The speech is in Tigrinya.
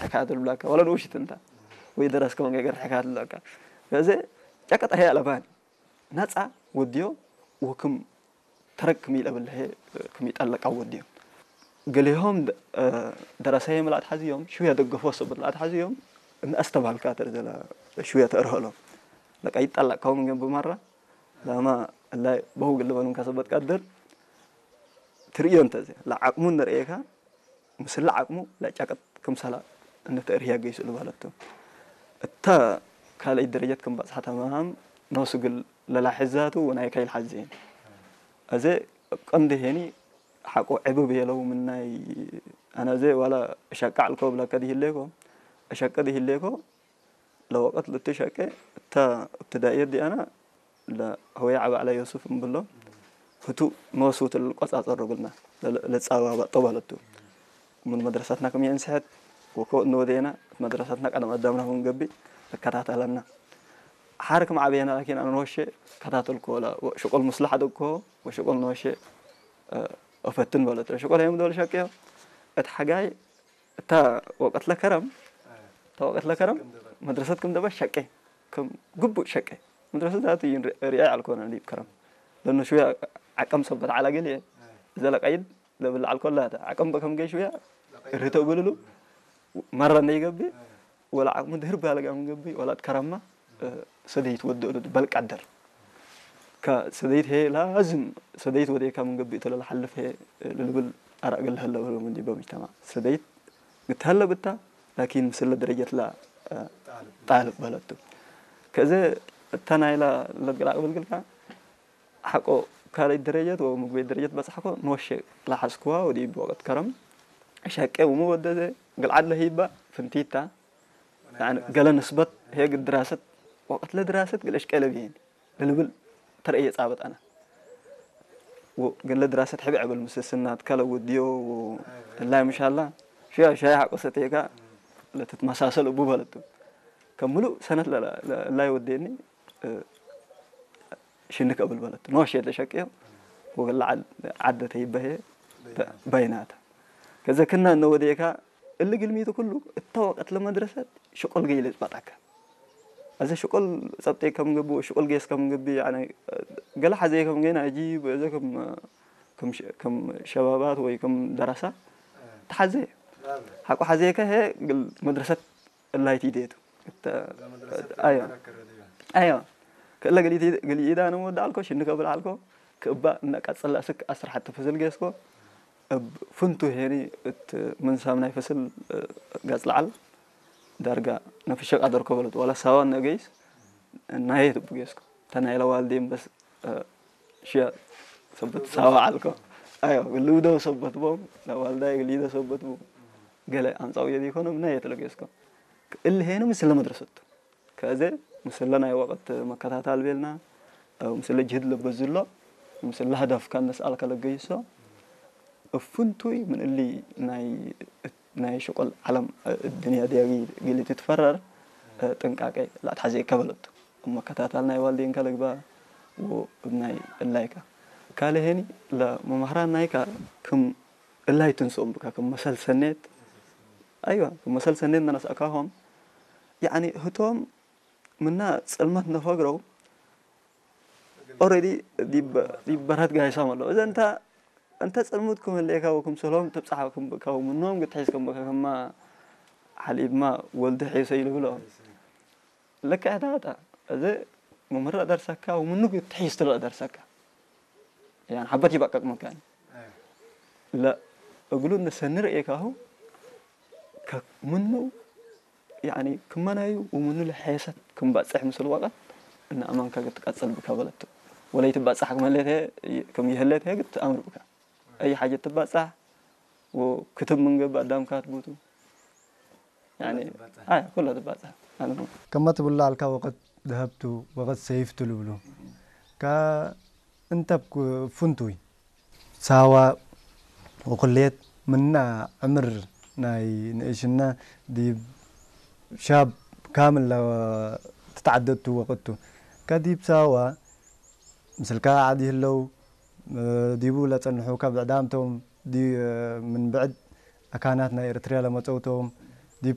ሕካያት ልብላካ፣ ዋላ ንውሽት እንታ ወይ ደረስ ከመን ገገር ሕካያት ልብላካ። ስለዚ ጨቀ ጠርሄ ኣለባን ናጻ ወድዮ ወክም ተረክ ሚለ ብለሄ ክም ይጠለቃ ወድዮ። ገሊሆም ደረሰየ ምላት ሓዚዮም ሽውያ ደገፎ ሰበት ምላት ሓዚዮም እናስተባልካ ተርዘላ ሽውያ ተርህሎም ለቃ ይጠለቃው ምን ብማራ ላማ ላይ በው ግልበሉን ከሰበት ቀድር ትርእዮ እንተዘ ለዓቅሙ ንርእየካ ምስላ ዓቅሙ ለጫቀጥ ክምሰላ እንተእርያ ገይሱ ልባለቱ። እታ ካልኣይ ደረጀት ከም ባጽሓ ተማሃም ነውስግል ለላሕዛቱ ወናይ ካይል ሓዘን። እዚ ቀንዲ ሄኒ ሓቆ ዕብብ የለው ምናይ ኣነ እዚ ዋላ እሸቃዕ ልኮ ብላካ ድሂሌኮ እሸቀ ድሂሌኮ ለወቀት ልትሸቀ እታ እብትዳእየት ዲኣና ለሆያ ዓባዕላ ዮሱፍ እምብሎ ህቱ መወስውት ልቆጻጸሮ ብልና ለጻባባጦ ባለቱ። ምን መድረሳትና ከም የንስሐት ወኮ እንወደየና መድረሳትና ቀደም ኣዳምና ክንገቢ እከታተለና። ሓር ከም ዓበየና ላኪን ኣነ ንወሸ ከታተልኮ ወላ ሽቆል ምስላሕ ደኮ ወሽቆል ንወሸ እፈትን በለት። ሽቆል የም ደበል ሸቅዮ እቲ ሓጋይ እታ ወቀት ለከረም እታ ወቀት ለከረም መድረሰት ከም ደበል ሸቄ ከም ግቡእ ሸቄ መድረሰት ዛቱ ሪኣ ያልኮነ ዲብ ከረም ለነ ሽያ ዓቀም ሰበት ዓላ ገሊየ ዘለ ቀይድ ለብል ዓልኮላ ዓቀም በከም ገይ ሽያ ርህተው ብልሉ መራ ነይገቢ ወላ ዓቅሙ ድህር ባለጋ ምንገቢ ወላ ከረማ ሰደይት ወደሉ በልቃደር ሰደይት ሄ ላዝም ሰደይት ወደካ ምንገቢ ተለላ ሓልፍ ሄ ልልብል ኣራእ ገለሀለ ብሎ ምንዲ በምጅተማ ሰደይት ግትሀለ ብታ ላኪን ምስለ ደረጀት ላ ጣልብ በለቱ ከዚ እታ ናይላ ለግላቅ ብልግልካ ሓቆ ካልኣይ ደረጀት ወይ ምግበይ ደረጀት በጻሕኮ ንወሸ ላሓዝክዋ ወዲ ብወቀት ከረም ሸቄ ውሙ ወደዘ ግልዓድ ለሂባ ፍንቲታ ገለ ንስበት ሄግ ድራሰት ወቀት ለድራሰት ግለሽ ቀለብ ይሄን ለልብል ተርእየ ጻበጣና ግን ለድራሰት ሕብዕ ዕብል ምስስናት ከለ ውድዮ ላይ ምሻላ ሽያ ሻይ ሓቆ ሰቴካ ለትትመሳሰል እቡ በለቱ ከም ምሉእ ሰነት ላይ ወደኒ ሽንክ እብል በለት ኖሽ የተሸቅዮ ወገላ ዓደ ተይበሄ በይናታ ከዘ ክና እነወደየካ እሊ ግልሚቱ ኩሉ እታ ወቀት ለመድረሰት ሽቆል ገይ ለጽባጣካ እዚ ሽቆል ጸብጠይ ከም ግቡ ሽቆል ገይስ ከም ግቢ ገላ ሓዘየ ከም ገይና እጂ በዘ ከም ሸባባት ወይ ከም ደረሳ ተሓዘየ ሓቆ ሓዘየካ ሄ መድረሰት ላይት ኢደቱ ኣዮ ኣዮ ክእለ ገሊኢዳ ንወዳኣልኮ ሽኒ ከብል ዓልኮ ክእባ እናቃጸላ ስክ ኣስራሓት ተፈስል ገስኮ እብ ፍንቱ ሄኒ እት ምንሳም ናይ ፈስል ገጽ ለዓል ዳርጋ ነፍሸ ቃደርኮ በለት ዋላ ሳዋ ነገይስ ናየት እቡ ገስኮ ተናይለ ዋልዴን በስ ሽያ ሰበት ሳዋ ዓልኮ ኣዮ ግልውደው ሰበት ቦም ለዋልዳይ ግልይደ ሰበት ቦም ገለ ኣምጻው የዲ ይኮነ ምና የትለገስኮ እልሄኑ ምስለ መድረሰቱ ከዚ ምስለ ናይ ወቅት መከታታል ቤልና ምስለ ጅህድ ለበዝሎ ምስለ ህደፍ ከነስኣል ከለገይሶ እፍንቱይ ምን እሊ ናይ ናይ ሽቆል ዓለም ድንያ ዲያጊ ግሊ ትትፈረር ጥንቃቄ ላትሓዘ ይከበለቱ መከታታል ናይ ዋልዴን ከለግባ ናይ እላይካ ካልሄኒ ለመምህራን ናይካ ክም እላይ ትንስኦም ብካ ክም መሰል ሰኔት ኣይዋ ክም መሰል ሰኔት እናነሳእካሆም ያኒ ህቶም ምና ጽልመት ነፈግረው ኦረዲ ዲበራት ጋይሳም ኣለዉ እዘ እንታ እንተ ጽልሙት ክመለየካ ወክም ሰሎም ተብጽሓ ክምብእካ ወምኖም ግትሒዝ ከመካ ከማ ሓሊብማ ወልዲ ሒሰ ይልብሎ ለካ እታ እታ እዚ መምህር ደርሰካ ወምኑ ግትሒዝ ትልኦ ደርሰካ ያን ሓበት ይበቀቅ መካን ለ እግሉ ንሰኒ ርእየካሁ ምኑ ያኒ ክመናዩ ወምኑ ለሐየሰት ክምባጽሕ ምስል ወቀት እና ኣማንካ ክትቀጽል ብካ በለቱ ወለይ ትባጻሕ ክመለተ ከም ይህለተ ግት ኣምር ብካ ኣይ ሓጀት ትባጻሕ ወክትብ ምንገብ ኣዳምካ ትቡቱ ያኒ ኣይ ኩላ ትባጻሕ ኣነ ከመ ትብላ ኣልካ ወቀት ደሀብቱ ወቀት ሰይፍቱ ልብሉ ካ እንተ ፍንቱይ ሳዋ ወኩሌት ምና ዕምር ናይ ንእሽና ዲብ ሻብ ካምል ትትዓደቱ ወቅቱ ከዲብ ሳዋ ምስልካ ዓዲ ህለው ዲቡ ለጸንሑ ከብዕዳምቶም ምን ብዕድ ኣካናት ናይ ኤርትርያ ለመጸውቶም ዲብ